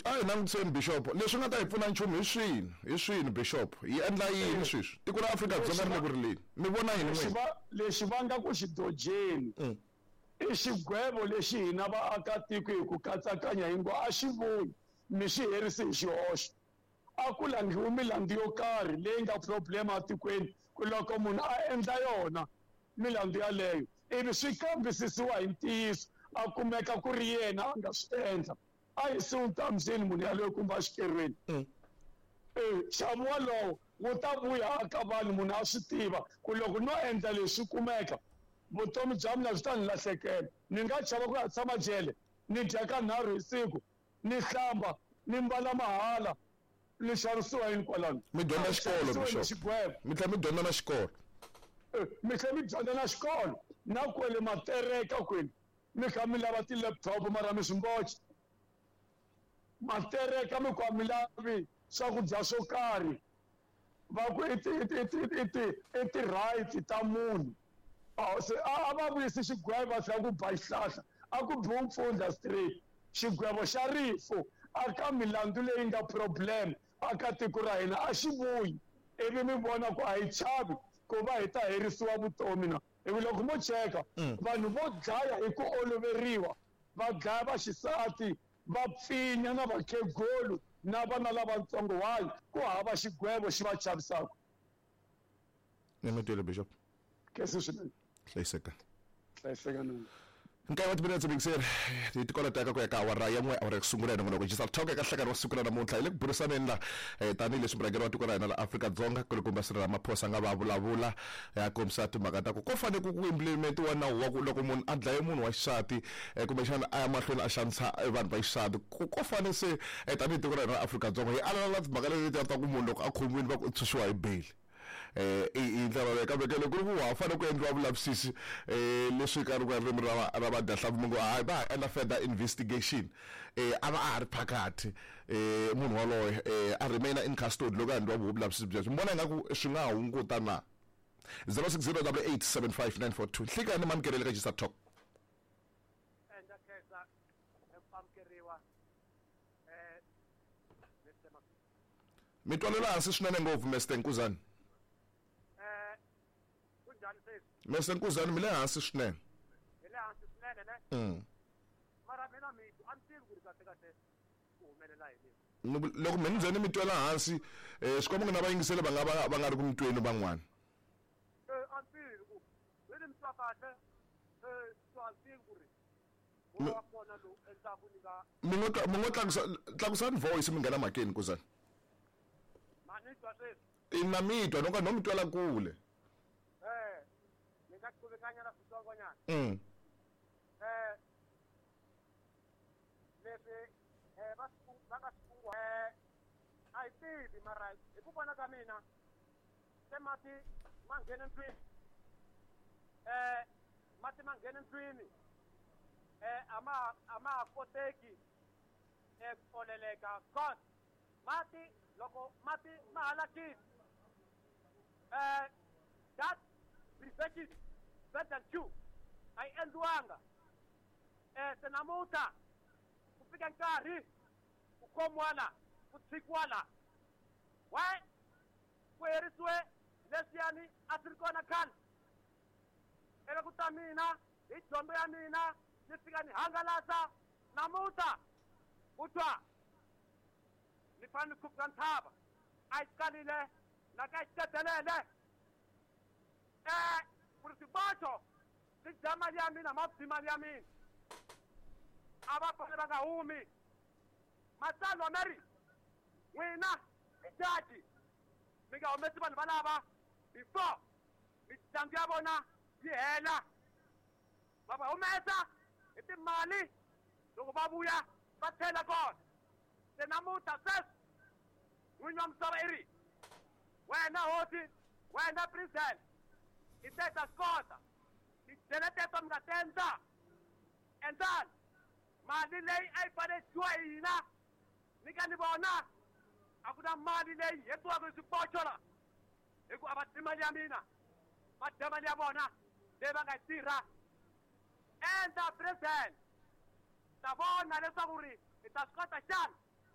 A hi langutiseni bishop, leswi nga ta hi pfuna nchumu hi swini, hi swini bishop, hi endla yini sweswi? Tiko ra Afrika-Dzonga ri le ku rileni, mi vona yini Lexi n'wina? va lexi va nga ku xi dojeni i xigwevo lexi hina vaakatiko hi ku katsakanya hi ngo a xi vuyi mi xi herisi hi xihoxo. A ku langhiwi milandzu yo karhi leyi nga problem etikweni ku loko munhu a endla yona milandzu yaleyo ivi swi kambisisiwa hi ntiyiso a kumeka ku ri yena a nga swi endla, a yisiwi ntambyini munhu yaloye kumbe exikerweni. Nxavo walowo wu ta vuya aka vanhu, munhu a swi tiva ku loko no endla leswi swi kumeka vutomi bya mina byi ta ni lahlekela, ni nga chava ku ya tshama jele, ni dya kanharhu hi siku, ni hlamba, ni mbala mahala, ni xavisiwa yini kwalano? Mi dyondza A xikolo, xavisiwe ni Bishop. xigwevo. Mi tlhela mi dyondza na xikolo. Mi tlhela mi dyondza na xikolo, na kwele matereka kwele mi kha mi lava ti-laptop mara mi swi mboxa. Matereka mi ku a mi lavi swakudya swo karhi, va ku i ti, i ti, i ti, i ti, i ti-right ta munhu. A se a va vuyisi xigwevo va tlhela ku ba xihlahla, a ku biwi mpfundla straight. Xigwevo xa rifu a ka milandzu leyi nga problem a ka tiko ra hina a xi vuyi, ivi mi vona ku a hi chavi ku va hi ta herisiwa vutomi na. Hi ku loko mo cheka vanhu vo dlaya hi ku oloveriwa, va dlaya vaxisati, va pfinya na vakhegulu na vana lavatsongo, why? Ku hava xigwevo xi va chavisaka. Ni mi twile Bishop. Khensa swinene. Hlayiseka. Hlayiseka na. Nkaye wa timinetse mixer hi tikoloteka ku ya ka awara ya n'we, awara ya ku sungula hi nongonoko Digital Talk eka nhlekani wa siku ra namuntlha. Hi le ku burisaneni la tanihileswi murhangeri wa tiko ra hina la Afrika-Dzonga kulukumba Cyril Ramaphosa a nga va vulavula a kombisa timhaka ta ku ko fanele ku implementiwa nawu wa ku loko munhu a dlaye munhu wa xisati kumbexana a ya mahlweni a xanisa vanhu va xisati, ku ko fanele se tanihi tiko ra hina ra Afrika-Dzonga hi alana na timhaka letiya ta ku munhu loko a khomiwile va ku u tshunxiwa hi bail. I ndlela leyi kambe ke loko ku ri ku ha fanele ku endliwa vulavisisi leswi ka ri ririmi ra ra vadyahlampfi mi ngo hayi va ha endla further investigation, a va a ha ri phakathi munhu waloye a remain in custody loko a endliwa vulavisisi byebyo, mi vona ingaku swi nga hunguta na? 060 88 75 942. Nhlikani mamkeleli ka Gisa Talk. Ndza khensa eku amukeriwa Mister Mi twalela hansi swinene ngopfu Mister Nkuzani. Kunjhani sweswi? Mister Nkuzani mi le hansi swinene. Hi le hansi swinene ne? Mara mina mi a ni tivi ku ri kahle kahle ku humelela yini. Loko mi ni ze ni mi twela hansi swi komba ku na vayingiseli va nga va va nga ri ku mi tweni van'wana. A ni tivi ku mi ni mi twa kahle so a ni tivi ku ri moya wa kona lowu endlaku ni nga Mi ngo mi ngo tlakusa tlakusani voice mi nghena mhakeni Nkuzani. Ma ni twa sweswi? Ina mi twa no ka no mi twela kule. Ni nga qhuvekanyana switsongonyana. Leswi va swi va nga swi kungu a hi tivi mara hi ku vona ka mina se mati ma nghene ndlwini, mati ma nghene ndlwini, a ma a ma ha koteki ku oleleka cause mati loko mati ma halakile that prevention version 2 a yi endliwanga. Se namuntlha ku fika nkarhi ku khomiwa la, ku tshikiwa la. Why? Ku herisiwe leswiyani a swi ri kona khale. Eka ku ta mina hi dyondzo ya mina ni fika ni hangalasa namuntlha ku twa ni fanele ni khuphuka ntshava a yi kalile na ka yi xitetelele ku ri swiboxo swi dya mali ya mina ma dyi mali ya mina a va fanele va nga humi matsalwa ma ri n'wina tijaji mi nga humesi vanhu valava before mitlangu ya vona yi hela, va va humesa hi timali loko va vuya va tlhela kona. Se namuntlha sweswi n'winyi wa misava i ri, Wena hosi, wena president, i te ta swi kota tijele teto mi nga ti endla, endlani mali leyi a yi fanele yi dyiwa hi hina ni ka ni vona a ku na mali leyi hetiwaka hi swipocho la, hi ku a va dyi mali ya mina, va dya mali ya vona leyi va nga yi tirha. Endla president, ta vona leswaku ri hi ta swi kota xana.